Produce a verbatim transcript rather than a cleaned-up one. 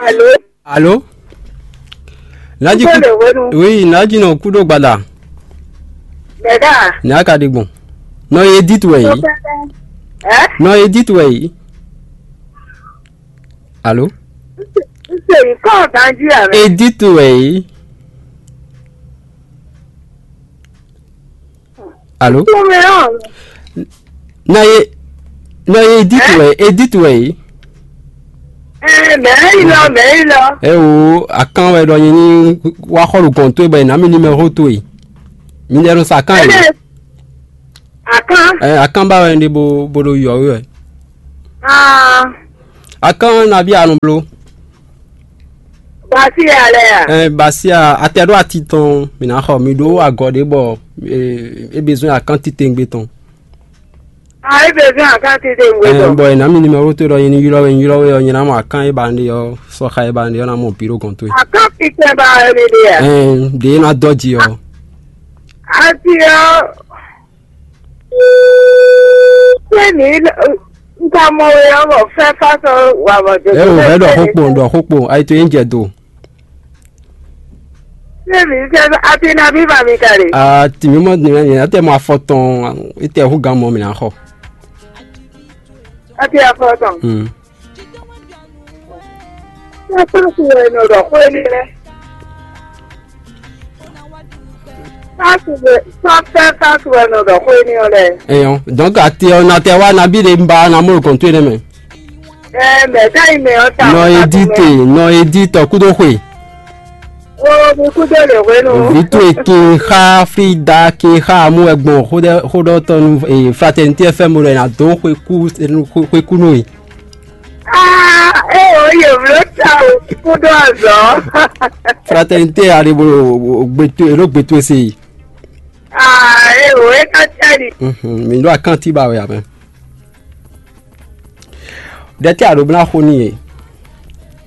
Alo? Alo? Nádí kú. Kúdó lè wénu. Oui, nádí nɔ kúdó gbada. Bɛ̀dá. Ní a ka ɖe gbɔn. Nɔ Edith wɛ yìí. Ɛ? Nɔ Edith wɛ yìí. Alo? N se yìí kọ́ ọ̀gánjú àmì. Edith wɛ yìí. Alo? Tumɛ ɔ. Na ye, na ye Edith wɛ, Edith wɛ yi. Ɛ, mɛ yi lɔ, mɛ yi lɔ. Ɛ o, akan wɛ ɖɔ nyi ní wá xɔ ɖo gɔn towe bɔ è nǎ mi numéro towe. Mi lɛ nɔ sa akan yi. Ɛ, akan. Ɛ, akan ba wɛ ɖe bo bo ɖo yɔ wɛ. Ah. Akan na bi anu blo. Basia lɛ ya. Ɛ, basia atɛ ɖo ati tɔn mi ná xɔ mi ɖó agɔ ɖé bɔ e e besoin akan titengbe tɔn. Ah, e besoin akan titengbe tɔn. Ɛ, bɔ e ná mi numéro to ɖɔ nyi ylɔ we ylɔ we ɔ nyi ná mɔ akan e ba ɖe ɔ sɔxa e ba ɖe ɔ ná mɔ bi ɖo gɔn towe. Akan titengbe ba wɛ mi ɖe ya. Ɛ, ɖe ná dɔ ji ɔ. Ati ɔ. Ṣé mi ń ka mọ oyè ọmọ fẹ́ fásọ wà mọ̀ tó? Ẹ ò fẹ́ dọ̀ xókpò dọ̀ xókpò ayé tó yín jẹ do. Ṣé mi ń fẹ́ àti nàbí bàmí kàlè? Àti mi mọ̀ ní ẹ̀ ẹ̀ tẹ̀ mọ afọ tán ẹ̀ tẹ̀ hú gan mọ́ mi náà xọ. Àti afọ tán. Hmm. Ṣé pásítọ̀ ẹ̀ nọ̀dọ̀ kó ní rẹ̀? Pásítọ̀ pásítọ̀ ẹ̀ nọ̀dọ̀ kó ní rẹ̀. Èèyàn donc àti ọ̀nà tẹ wá nabí lè ń ba na mú nǹkan tó yẹn mẹ́. Ẹ mẹ káyìn mẹ ọ ta. Nọ edite nọ editọ kúdó xwe. O mi kúdó lè wé nu. Vító èké xa Frida ké xa amú ẹgbọn xódọ́tọ́nu Fraternité F M rẹ̀ nà dó xwekú xwekú nù yìí. Ah, e o yovlo ta o kúdó azɔ. Fraternité aribo gbetu elo gbetu ese yi. Ah, e o e ka tẹri. Mhm, mi ɖo akanti ba wɛ amɛ. Ɖe tɛ a ɖo bla xo n'i e.